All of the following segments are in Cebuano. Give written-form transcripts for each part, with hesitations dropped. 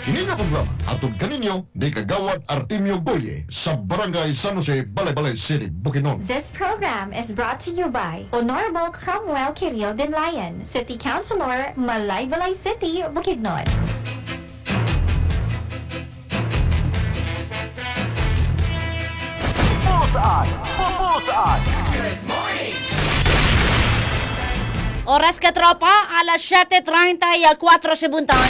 Kini nga programa atod kaninyo ni Kagawad Artemio Goye sa Barangay San Jose, Balay-Balay City, Bukidnon. This program is brought to you by Honorable Cromwell Kiril Dinlayan, City Councilor, Malaybalay City, Bukidnon. Bullseye! Bullseye! Oras ka tropa, alas 7:34 sa buntag.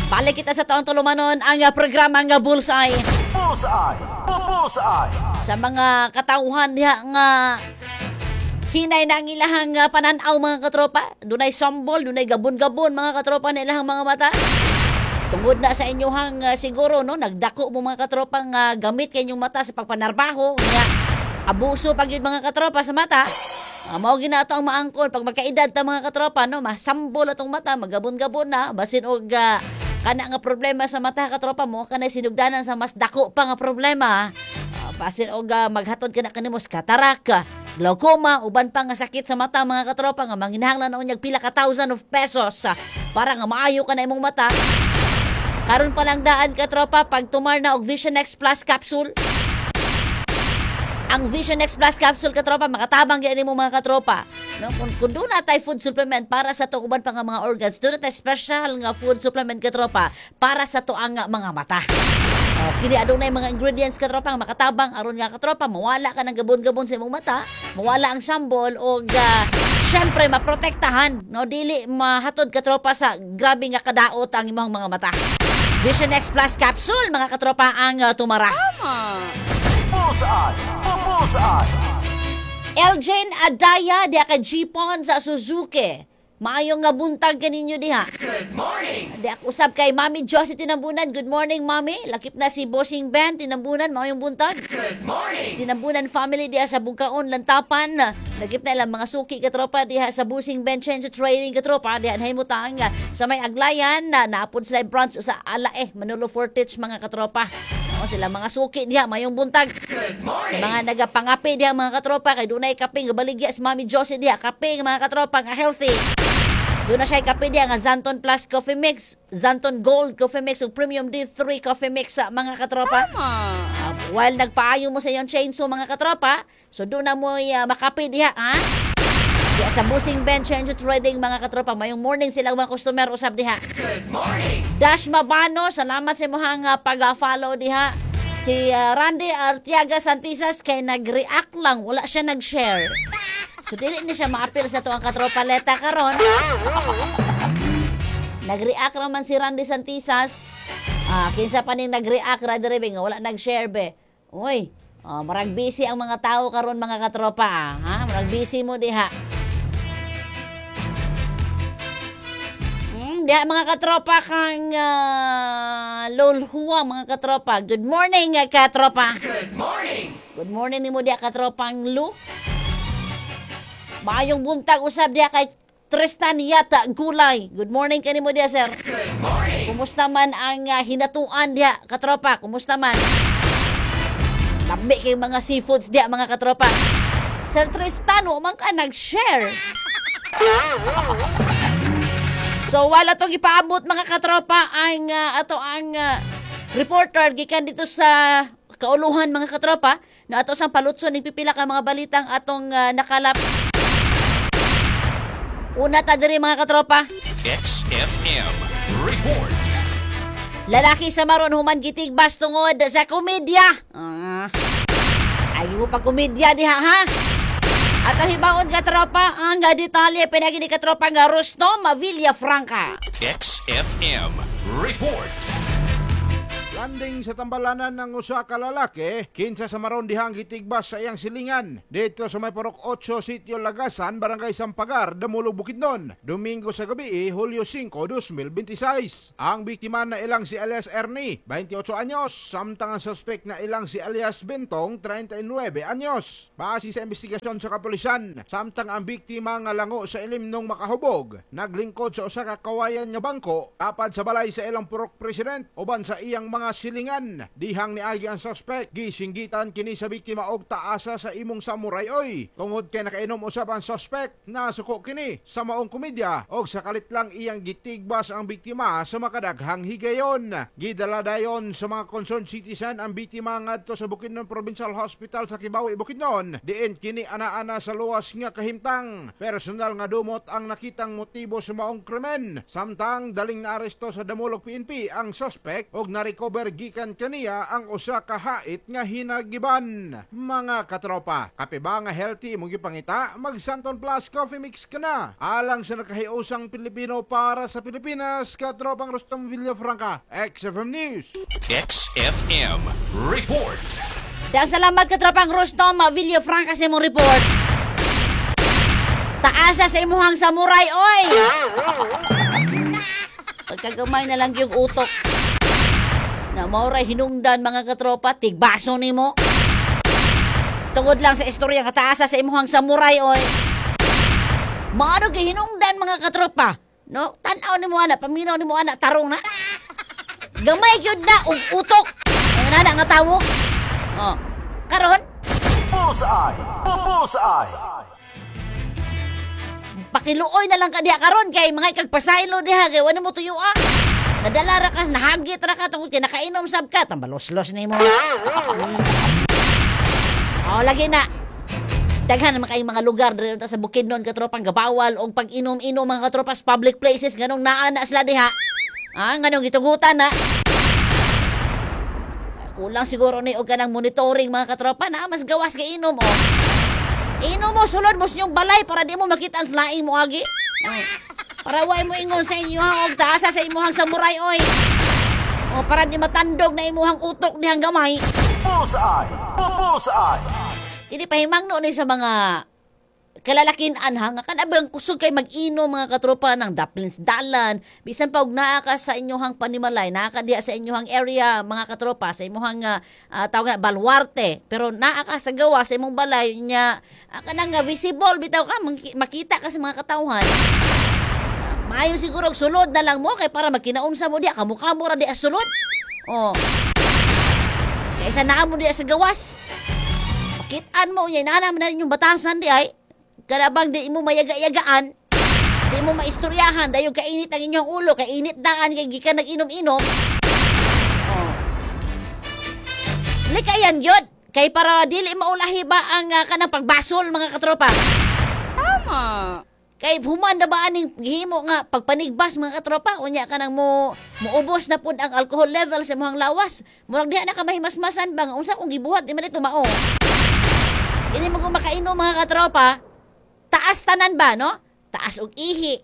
Balik kita sa taong tulumanon ang programa nga Bullseye. Bullseye! Bullseye! Sa mga katauhan diha nga hinay na ang ilahang pananaw mga katropa. Dunay sambol, dunay gabon-gabon mga katropa na ilahang mga mata. Tungod na sa inyuhang siguro no, nagdako mo mga katropa nga gamit kay inyong mata sa pagpanarbaho nga abuso pag yun mga katropa sa mata. Mao gina ato ang maangkon pag magkaedad ta mga katropa no, masambol atong mata, magabon-gabon na basin og kana nga problema sa mata katropa mo kanay sinugdanan sa mas dako pa nga problema. Basin og maghatod ka na kanimo sa kataraka, glaucoma, uban pa nga sakit sa mata mga katropa nga manginahanglan na unyag pila ka thousand of pesos para nga maayo ka na imong mata. Karon pa lang daan katropa pag tumar na og Vision X Plus capsule. Ang Vision X Plus capsule katropa makatabang gyud nimo mga katropa. No, kung doon na tay food supplement para sa to uban pa nga mga organs, doon na tay special nga food supplement katropa para sa to ang mga mata. Oh, kini adunay mga ingredients katropa nga makatabang aron nga katropa mawala ka ng gabon-gabon sa imong mata, mawala ang sambol og syempre maprotektahan, no, dili mahatod katropa sa grabe nga kadaot ang imong mga mata. Vision X Plus capsule mga katropa ang tumara. Bullseye! Bullseye! Elgin Adaya diha ka G-Pon sa Suzuki. Maayong nga buntag kaninyo diha. Good morning. Diha usab kay Mami Josie Tinambunan. Good morning, Mami. Lakip na si Bossing Ben Tinambunan. Maayong buntag. Good morning. Tinambunan family diha sa Bugkaon, Lantapan. Lakip na ilang mga suki katropa diha sa Bossing Ben Change Trading katropa diha nahimutang sa may Aglayan na naapod sila branch sa Alae, Manolo Fortich mga katropa. O sila mga suki diha mayong buntag. Sa mga nagapangape diha mga katropa kay dunay kape nga baligya si Mami Josie diha, kape nga mga katropa nga healthy. Doon na siya kape diha nga Xanthone Plus Coffee Mix, Xanthone Gold Coffee Mix ug Premium D3 Coffee Mix sa mga katropa. While nagpaayo mo sa iyong chainsaw mga katropa, so doon na mo makape diha, ha? Diha sa Busing Ben Change Trading mga katropa, mayong morning silang mga customer usab diha. Good morning. Dash Mabano, salamat sa imong pag-follow diha. Si Randy Artiaga Santisas kay nag-react lang, wala siya nag-share. So dili ni siya maapil sa tuang katropa leta karon. Nag-react raman si Randy Santisas. Kinsa pa ning nag-react ra diri nga wala nag-share be. Uy, marag busy ang mga tao karon mga katropa, ha? Marag busy mo diha. Diha mga katropa kang Lolhua mga katropa. Good morning katropa. Good morning. Good morning nimo diha katropang Lu. Maayong buntag usab diha kay Tristan Yata Gulay. Good morning kanimo diha, sir. Good morning. Kumusta man ang hinatuan diha katropa? Kumusta man? Lami kay mga seafoods diha mga katropa. Sir Tristan, wa man ka nag-share. So wala tong ipaabot mga katropa ang ato ang reporter gikan dito sa kauluhan mga katropa na ato sang palutson ning pipila ka mga balitang atong nakalap. Una ta diri mga katropa. XFM Report. Lalaki sa Maron human gitigbas tungod sa komedya. Ay mo pa komedya diha ha. At ang hibaon katropa ang detalye pinagi ni katropa nga Rusto Mavilla Franca. XFM Report. Landing sa tambalanan ng usa ka lalaki, kinsa sa maron dihang gitigbas sa iyang silingan. Dito sa may Purok 8, Sitio Lagasan, Barangay Sampagar, Damulog, Bukidnon. Domingo sa gabi, Hulyo 5, 2026. Ang biktima na ilang si alias Ernie, 28 anyos, samtang ang suspect na ilang si alias Bentong, 39 anyos. Base sa investigasyon sa kapulisan, samtang ang biktima nga lango sa ilim nung makahubog, naglingkod sa usa ka kawayan nga bangko, tapad sa balay sa ilang purok president, uban sa iyang mga mga silingan. Dihang niagi ang suspect, gisinggitan kini sa biktima og taasa sa imong samurai oy. Tungod kay nakainom usab ang suspect, nasuko kini sa maong komedya og sa kalit lang iyang gitigbas ang biktima sa makadaghang higayon. Gidala dayon sa mga concerned citizen ang biktima ngadto sa Bukidnon Provincial Hospital sa Kibawi, Bukidnon. Diin kini ana-ana sa luwas nga kahimtang. Personal nga dumot ang nakitang motibo sa maong krimen. Samtang daling naaresto sa Damulog PNP ang suspect og narecover gikan kaniya ang usa ka hait nga hinagiban. Mga katropa, kape ba nga healthy imong gipangita? Mag Santon Plus Coffee Mix ka na. Alang sa nakahiusang Pilipino para sa Pilipinas, katropang Rustom Villafranca, XFM News. XFM Report. Dahil salamat katropang Rustom Villafranca sa imong report. Taasa sa imuhang samurai, oy! Pagkagamay na lang yung utok. Na maoray hinungdan mga katropa, tigbaso nimo. Tungod lang sa istorya nga taasa sa imuhang samurai, oy. Maano kay hinungdan mga katropa? No, tan-aw nimo ana, paminaw nimo ana, tarong na. Gamay gyud na og utok. Ang nana nga tawo. Oh. Karon, Bullseye. Bullseye. pakiluoy na lang ka diha karon kay mga ikagpasaylo diha kay wala mo tuyo ah. Nadala ra ka, nahagit ra ka tungod kay nakainom sab ka, tambaloslos nimo. Oh, lagi na. Daghan naman kayong mga lugar diri ta sa Bukidnon katropang gabawal og pag-inom-inom mga katropa sa public places nganong naa na sila diha. Ah, nganong gitugutan na. Kulang siguro ni og kanang monitoring mga katropa na mas gawas kay inom oh. Inom mo sulod mo sa inyong balay para di mo makita ang laing mo agi. Oh. Para way mo ingon sa inyo og taasa sa imuhang samurai oy. O para di matandog na imuhang utok dihang gamay. Bullseye. Bullseye. Kini pahimangno ni sa mga kalalakian ha nga kanabang kusog kay mag-inom mga katropa ng daplins dalan bisan pa og naa ka sa inyohang panimalay, naa ka diha sa inyohang area mga katropa, sa imong tawag na baluarte, pero naa ka sa gawa sa imong balay nya, kanang nga visible bitaw ka, makita ka sa mga katawhan. Maayo siguro og sulod na lang mo kay para magkinaunsa mo diha, kamukha mo ra diha sulod. Oh, kaysa naa mo diha sa gawas. Kitaan mo niya, inaanam na rin yung batasan di ay. Kanabang di mo mayaga-yagaan, di mo maistoryahan, dayon kainit ang inyong ulo, kainit daan, kay gikan nag-inom-inom. Oh. Likayan yun, kay para dili maulahi ba ang kanang pagbasol mga katropa. Tama. Kay human na ba aning gihimo nga pagpanigbas mga katropa, unya ka nang mo muubos na pud ang alcohol level sa imong lawas. Murag diha na ka mahimasmasan ba nga unsa kung gibuhat di man ito mao. Ini mo kung makainom mga katropa, taas tanan ba, no? Taas og ihi.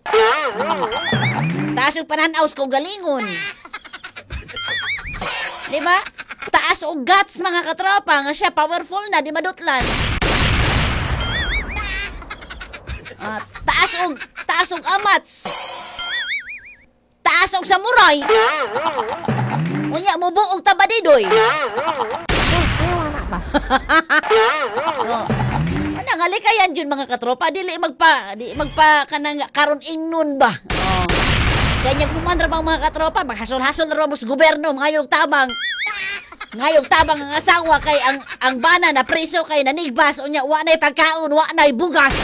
Taas og pananaw sa kaugalingon. Di ba? Taas og guts mga katropa, nga siya powerful na, di madutlan. Taas og amats. Taas og samurai. Unya mubuog tabadidoy. Ayaw na ba? Oh. Ano nga likayan yun mga katropa, dili magpa di magpa kanang karon ingnon ba. Oh. Kanya human ra bang mga katropa, maghasol-hasol ra mo sa gobyerno ngayong tabang. Ngayong tabang ang asawa kay ang bana na preso kay nanigbas unya wa nay pagkaon, wa nay bugas.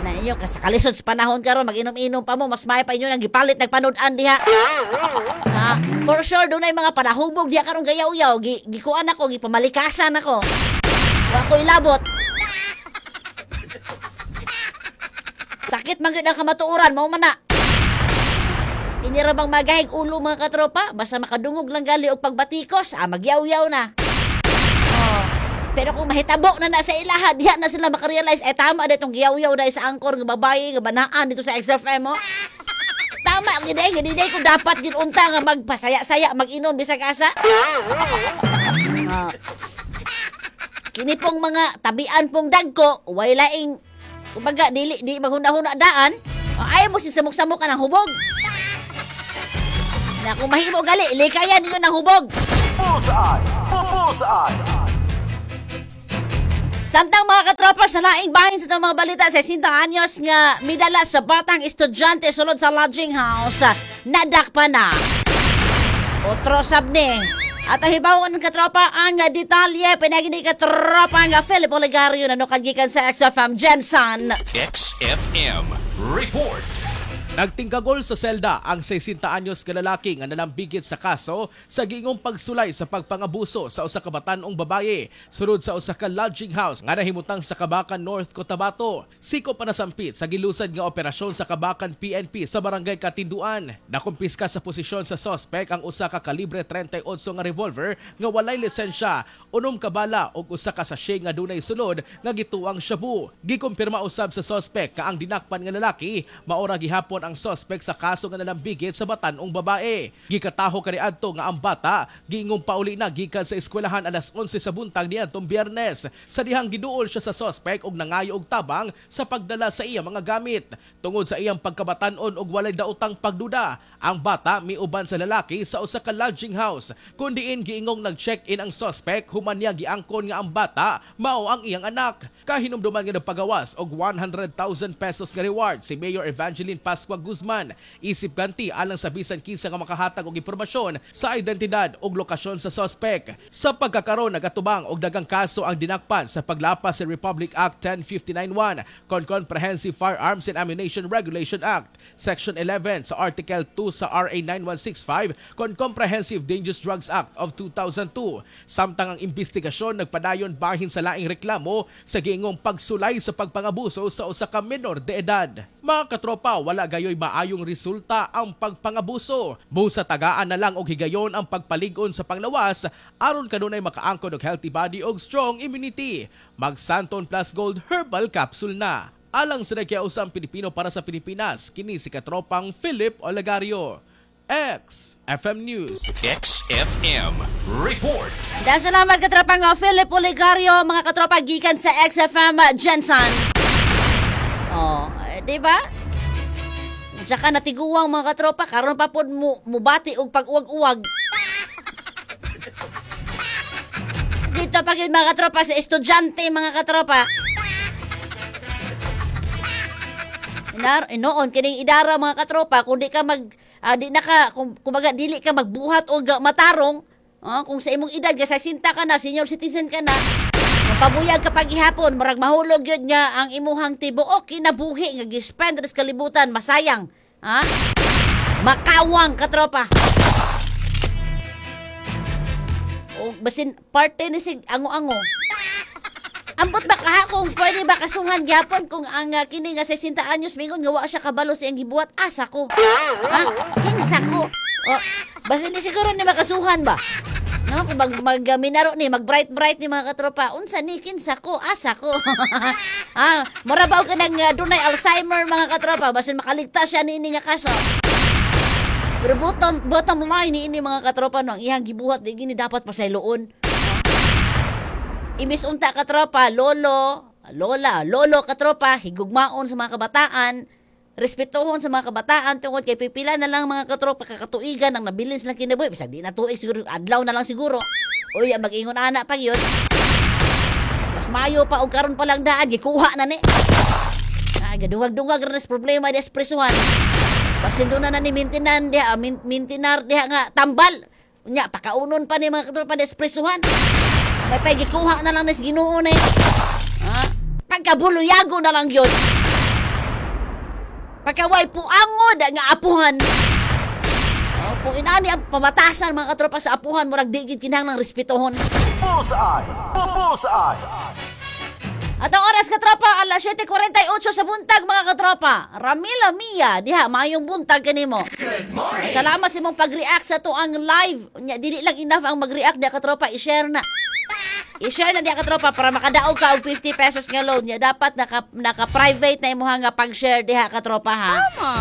Na inyo kasakalisod sa panahon karon mag-inom-inom pa mo, mas may pa inyo nang gipalit nagpanud-an diha. Ah, for sure dunay mga panahubog diha karon gayaw-yaw, gikuan ako, gipamalikasan ako. Wa ko'y labot. Sakit man gyud ang kamatuoran, mao man na. Tinira bang magahig ulo mga katropa? Basta makadungog lang gali og pagbatikos, magyaw-yaw na. Oh. Pero kung mahitabo na na sa ilaha, diha na sila makarealize, eh tama na itong giyaw-yaw na sa angkor nga babae, nga banaan dito sa XFM, oh. Tama, gini, gini, ko dapat ginunta nga magpasaya-saya, mag-inom bisag asa. Kini pong mga tabian pong dagko, way laing, kumbaga, dili, di maghuna-huna daan, ayaw mo sisamok-samok ka ng hubog. Na kung mahimo gali, likayan ninyo ng hubog. Bullseye. Bullseye. Samtang mga katropa sa laing bahin sa itong mga balita sa 60 anyos nga midala sa batang estudyante sulod sa lodging house, nadakpa na. Otro sab ni. At ang hibawan ng katropa ang detalye pinagini katropa nga Philip Olegario na gikan sa XFM Jensen. XFM Report. Nagtingkagol sa selda ang 60 anyos ka lalaki nga nalambigit sa kaso sa giingong pagsulay sa pagpangabuso sa usa ka batan-ong babaye sulod sa usa ka lodging house nga nahimutang sa Kabakan North, Cotabato. Siko pa nasampit sa gilusad nga operasyon sa Kabakan PNP sa Barangay Katinduan. Nakumpiska sa posisyon sa sospek ang usa ka kalibre 38 nga revolver nga walay lisensya, unom ka bala ug usa ka sachet nga dunay sulod nga gituang shabu. Gikumpirma usab sa sospek nga ang dinakpan nga lalaki maora gihapon ang sospek sa kaso nga nalambigit sa batan-ong babae. Gikataho kaniadto nga ang bata giingong pauli na gikan sa eskwelahan alas 11 sa buntag niadtong Biyernes. Sa dihang giduol siya sa sospek og nangayo og tabang sa pagdala sa iya mga gamit. Tungod sa iyang pagkabatan-on og walay daotang pagduda, ang bata miuban sa lalaki sa usa ka lodging house kun diin giingong nag-check-in ang sospek human niya giangkon nga ang bata mao ang iyang anak. Kahinumduman nga nagpagawas og 100,000 pesos nga reward si Mayor Evangeline Pascua Guzman isip ganti alang sa bisan kinsa nga makahatag og impormasyon sa identidad ug lokasyon sa sospek. Sa pagkakaron nagatubang og dagang kaso ang dinakpan sa paglapas sa Republic Act 10591 kon Comprehensive Firearms and Ammunition Regulation Act, Section 11 sa Article 2 sa RA 9165 kon Comprehensive Dangerous Drugs Act of 2002. Samtang ang investigasyon nagpadayon bahin sa laing reklamo sa giingong pagsulay sa pagpangabuso sa usa ka menor de edad. Mga katropa, wala gayoy maayong resulta ang pagpangabuso. Busa tagaan na lang og higayon ang pagpalig-on sa panglawas aron kanunay makaangkon og healthy body og strong immunity. Mag Santon Plus Gold Herbal Capsule na. Alang sa nagkiausang Pilipino para sa Pilipinas, kini si katropang Philip Olegario. XFM News. XFM Report. Dahil salamat katropang Philip Olegario, mga katropa gikan sa XFM Jensen. Oh, eh, di ba? Tsaka natiguang mga katropa, karon pa pod mo mubati og pag-uwag-uwag. Dito pag yun, mga katropa sa estudyante mga katropa. Inar, inoon kining idara mga katropa kung di ka mag di na ka kung kumbaga dili ka magbuhat og matarong, kung sa imong edad ka 60 ka na, senior citizen ka na, mapabuyag ka paghihapon, murag mahulog yun nga ang imuhang tibuok kinabuhi nga gispend sa kalibutan, masayang, ha? Makawang katropa. O basin parte ni sig ango-ango. Ambot ba kaha kung pwede ba kasuhan gyapon kung ang kini nga 60 anyos mingon nga wa siya kabalo sa iyang gibuhat, asa ko. Ha? Kinsa ko. O, basin di siguro ni makasuhan ba? No, kung mag, mag minaro ni, mag bright bright ni mga katropa, unsa ni kinsa ko, asa ko. Ah, mura ba og kanang dunay Alzheimer mga katropa, basin makaligtas siya niini nga kaso. Pero bottom line ni ini mga katropa no, ang iyang gibuhat di gini dapat pasayloon. Imbis unta katropa, lolo, lola, lolo katropa, higugmaon sa mga kabataan, respetuhon sa mga kabataan tungod kay pipila na lang mga katropa kakatuigan ang nabilis lang kinabuhi, bisag di na tuig siguro, adlaw na lang siguro. Uy, mag-ingon ana pa yun. Mas mayo pa og karon pa lang daan gikuha na ni. Ay, gaduwag-duwag ra sa problema di espresuhan. Basin doon na ni mintinan diha, mintinar diha nga tambal. Unya pakaunon pa ni mga katropa di espresuhan. May pay gikuha na lang ni sa Ginoo ni. Ha? Pagkabuluyago na lang yun. Pagkaway puangod nga apuhan. Oh, kung inani ang pamatasan mga katropa sa apuhan, murag di gid kinahanglang respetuhon. Bullseye! Bullseye! At ang oras katropa, alas 7:48 sa buntag mga katropa. Ramila Mia, diha maayong buntag kanimo. Salamat sa imong pag-react sa to ang live. Nya dili lang enough ang mag-react diha katropa, i-share na. I-share na diha katropa para makadaog ka og 50 pesos nga load niya. Dapat naka-private na imong nga pag-share diha katropa ha. Tama.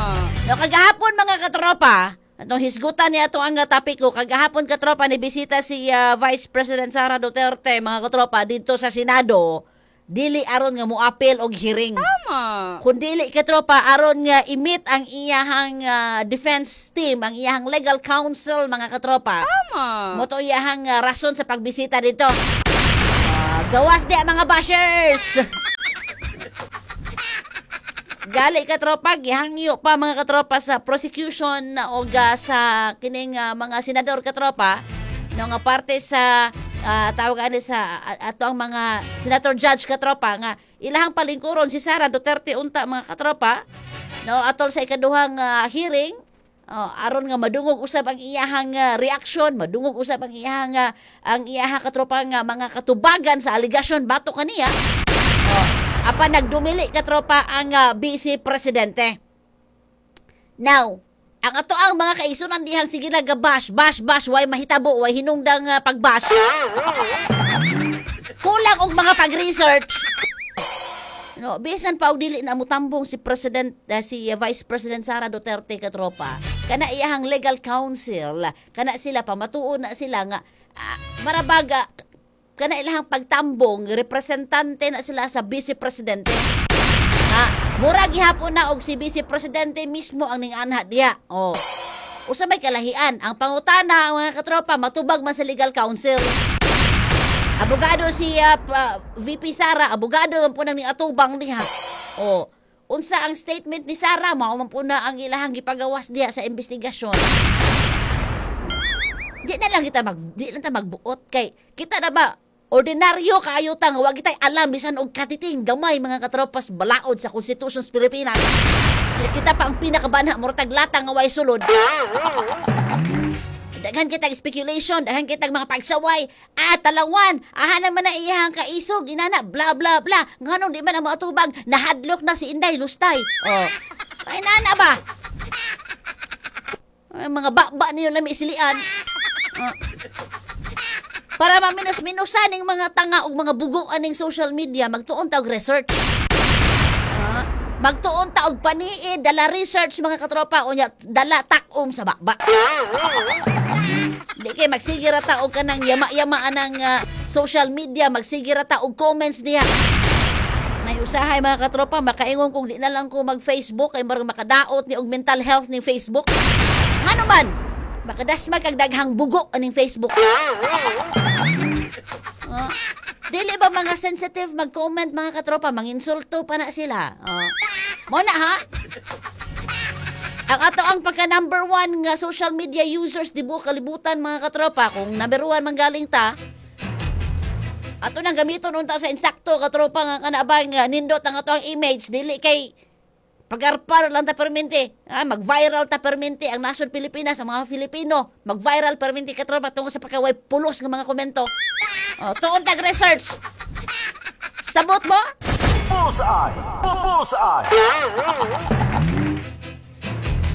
No, kagahapon mga katropa, atong hisgutan niya atong ang topic ko, kagahapon katropa ni bisita si Vice President Sara Duterte mga katropa dito sa Senado. Dili aron nga moapil og hearing. Tama. Kun dili katropa aron nga i-meet ang iyahang defense team, ang iyahang legal counsel mga katropa. Tama. Mo to iyahang rason sa pagbisita dito. Gawas di ang mga bashers. Gali katropa, gihangyo pa mga katropa sa prosecution o sa kining mga senador katropa, no, nga parte sa tawag ani sa ato ang mga senator judge katropa nga ilahang palingkuron si Sara Duterte unta mga katropa, no, atol sa ikaduhang hearing. Aron nga madungog usab ang iyahang reaksyon, madungog usab ang iyahang ang iyahang katropa nga mga katubagan sa aligasyon batok kaniya. Apan nagdumili katropa ang vice presidente. Now, ang ato ang mga kaisunan dihang sige lang bash, bash, bash, way mahitabo, way hinungdang pagbash. Kulang og mga pag-research. No, bisan pa og dili na mutambong si President si Vice President Sara Duterte katropa. Kana iyahang legal counsel, kana sila pamatuon na sila nga marabaga kana ilahang pagtambong representante na sila sa vice presidente. Mura gihapon na og si vice presidente mismo ang ninganha diha. Oh. Usa may kalahian ang pangutana mga katropa matubag man sa legal counsel. Abogado si VP Sara, abogado man po nang atubang diha. O, unsa ang statement ni Sara, mao man po na ang ilahang gipagawas diha sa investigasyon. Di na lang kita di lang ta magbuot kay kita na ba ordinaryo kaayo ta nga wa kitay alam bisan og katiting gamay mga katropas balaod sa Constitution sa Pilipinas. Kita pa ang pinakabanha murtag lata nga way sulod. Daghan kitag speculation, daghan kitag mga pagsaway. Talawan, aha naman na iyahang kaisog, inana, bla bla bla. Nganong di man ang maatubag, nahadlok na si Inday Lustay. Oh. Ay, inana ba? Ay, mga bakba niyo lami isilian. Para maminos-minusan ning mga tanga og mga bugo aning social media, magtuon ta og research. Magtuon ta og paniid, dala research mga katropa, unya dala takom sa bakba. Di kay magsige ra ta og kanang yama-yama anang social media, magsige ra ta og comments diha. Nay usahay mga katropa, makaingon kung di na lang ko mag-Facebook kay marang makadaot ni og mental health ning Facebook. Ngano man? Makadasmag kag daghang bugo aning Facebook. Dili ba mga sensitive mag-comment mga katropa, manginsulto pa na sila. Mo na ha? Ang ato ang pagka number 1 nga social media users di buo kalibutan mga katropa, kung number 1 manggaling ta, ato nang gamiton unta sa insakto katropa nga kanabang nga nindot ang ato ang image, dili kay pagarpar lang ta permente. Mag-viral ta permente ang nasod Pilipinas, ang mga Filipino, mag-viral permente katropa tungod sa pagkaway pulos nga mga komento. Tuon tag research. Sabot mo? Bullseye! Bullseye!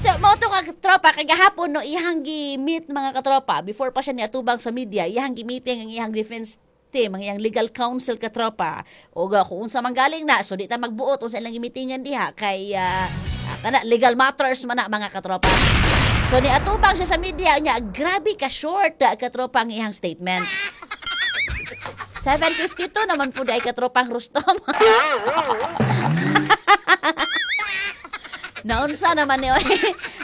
So, mao to katropa, kagahapon no, iyang gi-meet mga katropa, before pa siya niatubang sa media, iyang gi-meeting ang iyang defense team, ang iyang legal counsel katropa. O kung unsa man galing na, so di ta magbuot unsa ilang gi-meetingan diha kay kana legal matters man na mga katropa. So niatubang siya sa media niya, grabe ka short katropa ang iyang statement. 7:52 naman po dahil katropang Rustom. Naunsa naman ni oy.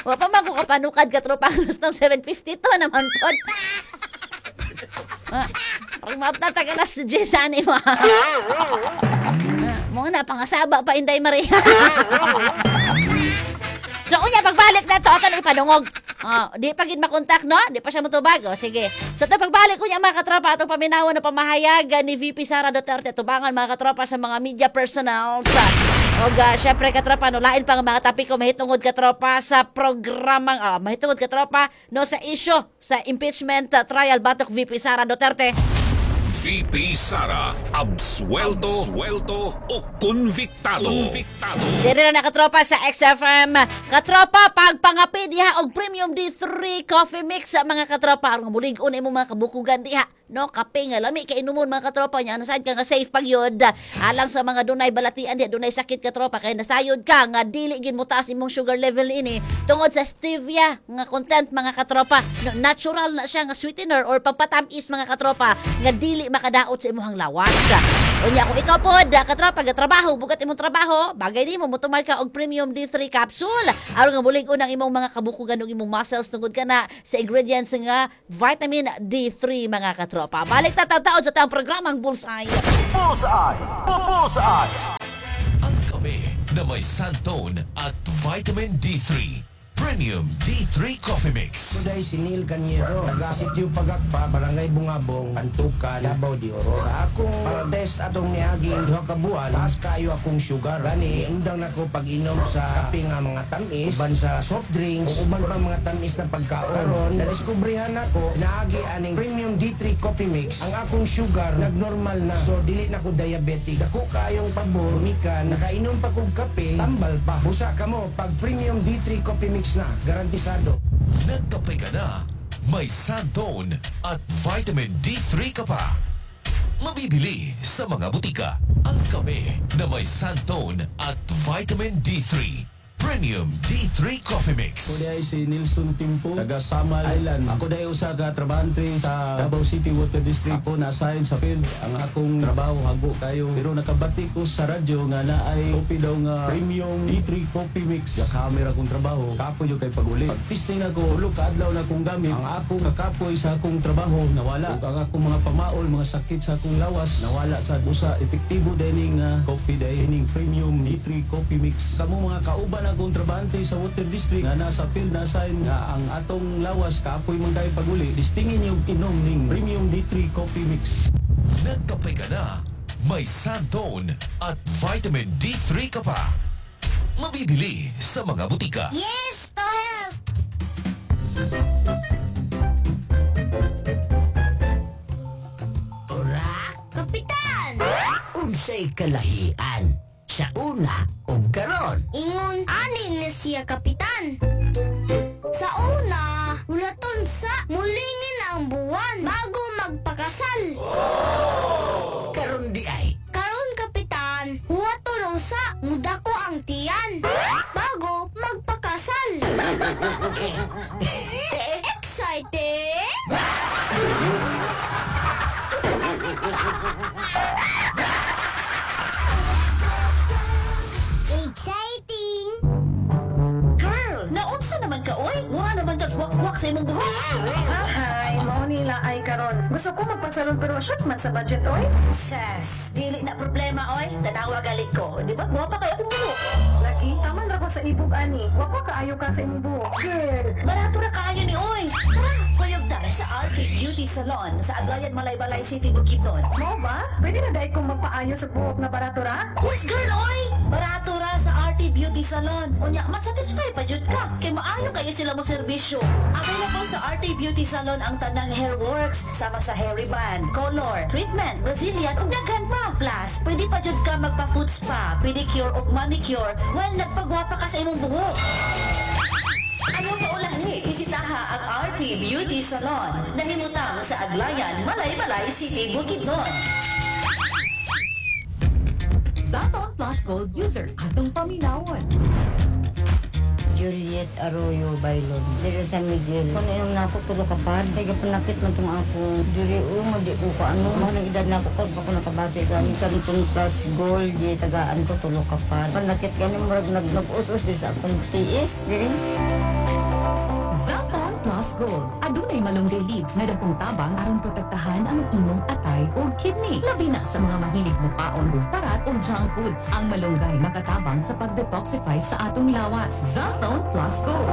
Wa pa man ko kapanukad katropang Rustom, 7:52 naman po. Pag maapta ka alas 10 ani mo. Mo na pangasaba pa Inday Maria. So unya pagbalik na to ato na ipadungog. Di pa gid makontak no, di pa siya motubag. O sige. So to pagbalik unya mga katropa atong paminawan na pamahayag ni VP Sara Duterte tubangan mga katropa sa mga media personals. Og syempre katropa no, lain pa nga mga tapiko mahitungod katropa sa programang mahitungod katropa no sa issue sa impeachment trial batok VP Sara Duterte. VP Sara, absuelto, absuelto o convictado. Convictado. Dire na katropa sa XFM. Katropa, pagpangapi diha og Premium D3 Coffee Mix sa mga katropa. Aron mulig-on imong mga kabukugan diha. No, kape nga lami kay inumon mga katropa nya. Nasayod ka nga safe pagyod. Alang sa mga dunay balatian diha, dunay sakit katropa kay nasayod ka nga dili gid mo taas imong sugar level ini tungod sa stevia nga content mga katropa. No, natural na siya nga sweetener or pampatamis mga katropa nga dili makadaot sa imong lawas. Unya kung ikaw pod katropa gatrabaho, bugat imong trabaho, bagay nimo motumar ka og Premium D3 capsule aron nga mulig-on ang imong mga kabukugan ug imong muscles tungod kana sa ingredients nga vitamin D3 mga katropa. Balik ta taud sa tang programang Bullseye. Bullseye! Bullseye! Ang kape. na may xanthone at vitamin D3. Premium D3 Coffee Mix. Kuday si Neil Canyero, taga Sitio Pagakpa, Barangay Bungabong, Antukan, Davao de Oro. Sa akong test atong niaging 2 ka buwan, taas kayo akong sugar. Gani, undang nako pag-inom sa kape nga mga tamis, uban sa soft drinks, ug uban pa mga tamis na pagkaon. Karon, nadiskubrehan nako, naagi aning Premium D3 Coffee Mix, ang akong sugar nagnormal na. So dili na ko diabetic. Dako kayong pabor, mikan, nakainom pa kog kape, tambal pa. Busa kamo pag Premium D3 Coffee Mix na, garantisado. Nagkape ka na, may xanthone at vitamin D3 ka pa. Mabibili sa mga butika. Ang kape na may xanthone at vitamin D3. Premium D3 Coffee Mix. Ako diay si Nilson Timpo, taga Samal Island. Ako diay usa ka trabahante sa Davao City Water District. Ako na-assign sa field. Ang akong trabaho hago kayo. Pero nakabati ko sa radyo nga naay coffee daw nga Premium D3 Coffee Mix. Camera akong trabaho. Kapoy yung kay pag-uli. Pag testing ako, 3 ka adlaw na akong gamit. Ang akong kakapoy sa akong trabaho nawala. Ug ang akong mga pamaol, mga sakit sa akong lawas nawala sa usa. Epektibo dining coffee diay ining Premium D3 Coffee Mix. Kamo mga kauban akong trabahante sa Water District nga nasa field na sign nga ang atong lawas kapoy man kayo pag-uli, testingin yung inom ning Premium D3 Coffee Mix. Nagkape ka na, may xanthone at vitamin D3 ka pa. Mabibili sa mga butika. Yes to health! Orak, Kapitan! Unsay kalahian sa una ug karon? Ingon, ani na siya, Kapitan. Sa una, hulaton sa mulingin ang buwan bago magpakasal. Karon di ay? Karon, Kapitan, huwaton usa mudako ang tiyan bago magpakasal. Exciting! Exciting! Girl, naunsa naman ka oy? Wala naman ka kwak-kwak sa imong buhok. Ahay, mao nila ay karon. Gusto ko magpasalon pero short man sa budget oy. Sus, dili na problema oy. Tanawa galit ko, di ba? Wa pa kayo akong buhok. Lagi, taman ra ko sa ibog ani. Wa ko kaayo ka sa imong buhok. Girl, barato ra kaayo ni oy. Tara, kuyog ta sa RK Beauty Salon sa Aglayan, Malaybalay City, Bukidnon. Mao ba? Pwede na dai kong magpaayo sa buhok na barato ra? Yes, girl, oy! Barato ra sa RT Beauty Salon. Unya, masatisfy pa jud ka. Kay maayo kayo sila mo serbisyo. Available sa RT Beauty Salon ang tanang hair works sama sa hair reband, color, treatment, Brazilian ug daghan pa. Plus, pwede pa jud ka magpa-foot spa, pedicure ug manicure while nagpagwapa ka sa imong buhok. Ayaw pa ulahi, bisitaha ang RT Beauty Salon. Nahimutang sa Aglayan, Malaybalay City, Bukidnon. Xanthone Plus Gold users, atong paminawon. Juliet Arroyo Bailon. Diri San Miguel. Kung inom na ako, 3 ka pad. Kaya panakit man itong ako. Diri o, di ko ka ano. Mga nang edad na ako, kung ako nakabati ka. Xanthone Plus Gold, di tagaan ko, 3 ka pad. Panakit gani, murag nag-us-us di sa akong tiis. Diri. Xanthone Plus Gold. Adunay malunggay leaves nga dakong tabang aron protektahan ang imong atay o kidney. Labi na sa mga mahilig mo paon og parat o junk foods. Ang malunggay makatabang sa pag-detoxify sa atong lawas. Xanthone Plus Gold.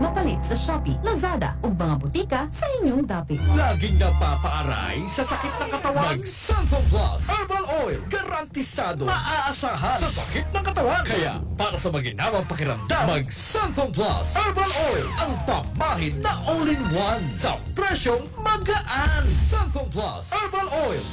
Mapalit sa Shopee, Lazada ug mga butika sa inyong dapit. Laging napapaaray sa sakit ng katawan? Mag Xanthone Plus Herbal Oil. Garantisado. Maaasahan sa sakit ng katawan. Kaya, para sa maginawang pakiramdam, mag Xanthone Plus Herbal Oil. Ang pamahid na all-in-one sa presyong magaan. Xanthone Plus Herbal Oil.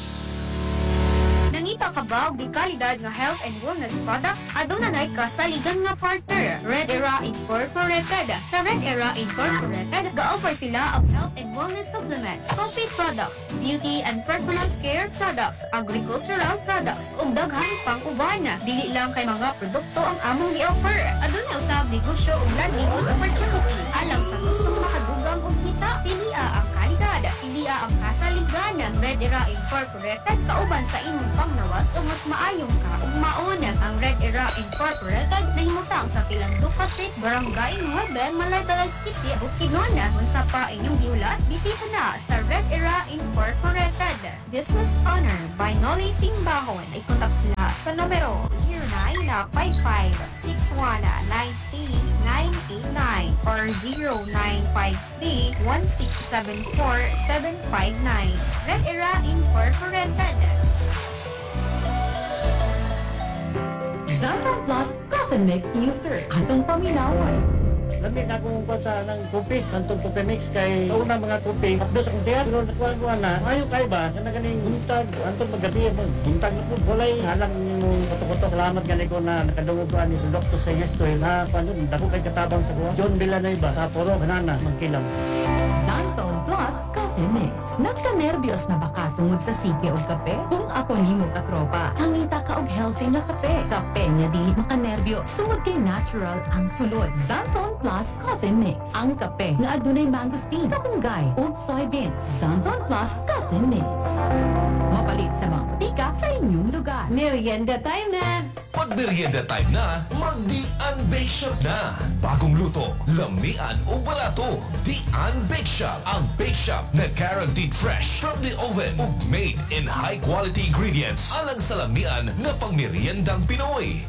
Nangita ka ba og di kalidad nga health and wellness products? Aduna nay kasaligan nga partner, Red Era Incorporated. Sa Red Era Incorporated, ga-offer sila og health and wellness supplements, coffee products, beauty and personal care products, agricultural products, ug daghan pang uban. Dili lang kay mga produkto ang among gi-offer. Aduna usab negosyo ug livelihood opportunity. Alang sa gustong makadugang og kita, pilia Pilia ang kalidad, pilia ang kasaligan. Red Era Incorporated, kauban sa imong panglawas o mas maayong kaugmaon. Ang Red Era Incorporated nahimutang sa Tilanduca Street, Barangay Nueve, Malaybalay City, Bukidnon. Unsa pa inyong gihulat, bisita na sa Red Era Incorporated. Business owner by Nolly Simbahon. I-contact sila sa numero 0955-6193-989 or 0953-1674-759. Red Era Incorporated. Xanthone Plus Coffee Mix user. Atong paminawon. Lami na akong kuan sa nang kopi, kantong kopi mix kay sa una mga kopi, hapdos akong tiyan, pero nakuha ko na, ayo kay ba, kana ganing buntag, antong magabi, buntag na po, walay halang nimong kuto-kuto. Salamat gani ko na nakadungog ko ani sa Dr. sa Yestoy, na kuan yun, dako kay katabang sa kuha. John Villanueva, sa Puro, Banana, Magkilam. Xanthone Plus Coffee Mix. Nagka-nervyos na ba ka tungod sa sige og kape? Kung ako nimo katropa, hangita ka og healthy nga kape. Kape nga dili makanerbyo, sungod kay natural ang sulod. Xanthone Plus Coffee Mix. Ang kape nga adunay mangosteen, kamunggay ug soybeans. Xanthone Plus Coffee Mix. Mapalit sa mga botika sa inyong lugar. Merienda time na! Pag merienda time na, mag-Dian Bake Shop na. Bagong luto, lamian o barato. Dian Bake Shop, ang bake shop na guaranteed fresh from the oven ug made in high quality ingredients alang sa lamian nga pangmeriendang Pinoy.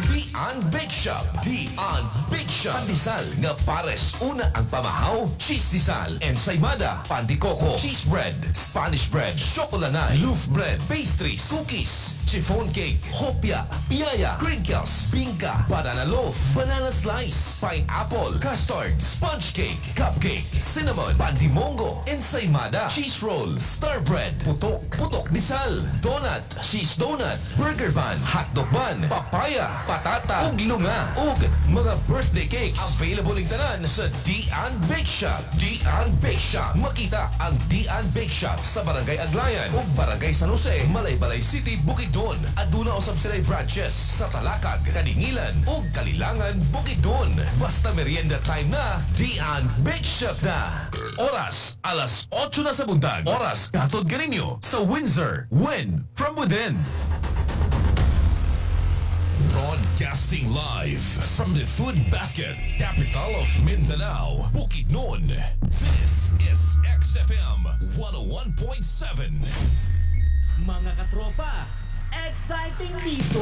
Dian Bake Shop. Dian Bake Shop. Pandesal nga pares. Una ang pamahaw, cheese disal, ensaymada, pandikoko, cheese bread, Spanish bread, chocolanay, loaf bread, pastries, cookies, chiffon cake, hopia, piaya, crinkles, bingka, banana loaf, banana slice, pineapple, custard, sponge cake, cupcake, cinnamon, pandimongo, ensaymada, cheese roll, star bread, putok, putok disal, donut, cheese donut, burger bun, hotdog bun, papaya, patata, ug lunga, ug mga birthday cakes. Available ing tanan sa Dian Bake Shop. Dian Bake Shop. Makita ang Dian Bake Shop sa Barangay Aglayan ug Barangay San Jose, Malaybalay City, Bukidnon. Aduna usab sila branches sa Talakag, Kadingilan ug Kalilangan, Bukidnon. Basta merienda time na, Dian Bake Shop na. Oras, alas 8 na sa buntag. Oras, katod ganinyo sa Windsor. Win from within. Broadcasting live from the Food Basket, capital of Mindanao, Bukidnon. This is XFM 101.7. Mga katropa, exciting dito!